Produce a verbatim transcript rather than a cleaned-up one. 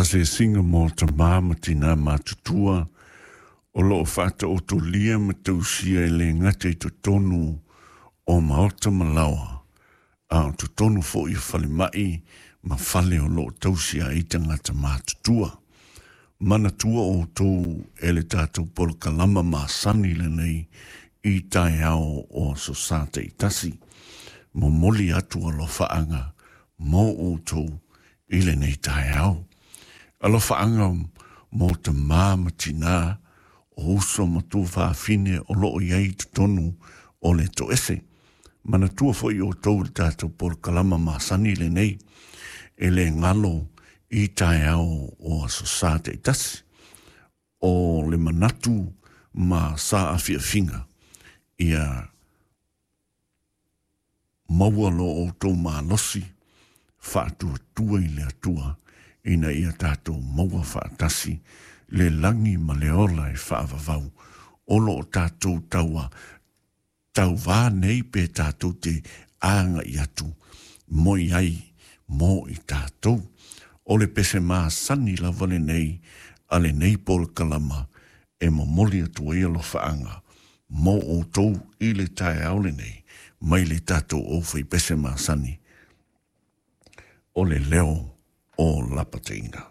Asiasiga mo tamā ma tinā matutua o loo faataotolia ma tausia e lē gata i totonu o maota ma laoa, a o totonu foʻi o falemaʻi ma fale o loo tausia ai tagata matutua. Manatua outou e le tatou polokalama masani lenei i taeao o aso Sā taitasi. Momoli atu alofaaga mo outou i lenei taeao. Alofaaga mo tamā ma tinā o uso ma tuafafine o loo i ai i totonu o le toese. Manatua foʻi outou le tatou polokalama masani lenei e lē galo i taeao o aso Sā taitasi. O le manatu ma sa afiafiga ia maua lo outou malosi faatuatua i le Atua ina ia tatou maua faatasi le lagi ma le ola e faavavau o loo tatou taua tauvā nei pe tatou te agaʻi atu moi ai mo i tatou. O le pese masani lava lenei a lenei polokalama e momoli atu ai alofaaga mo outou i le taeao lenei mai le tatou aufaipese masani o le leo o lapataiga.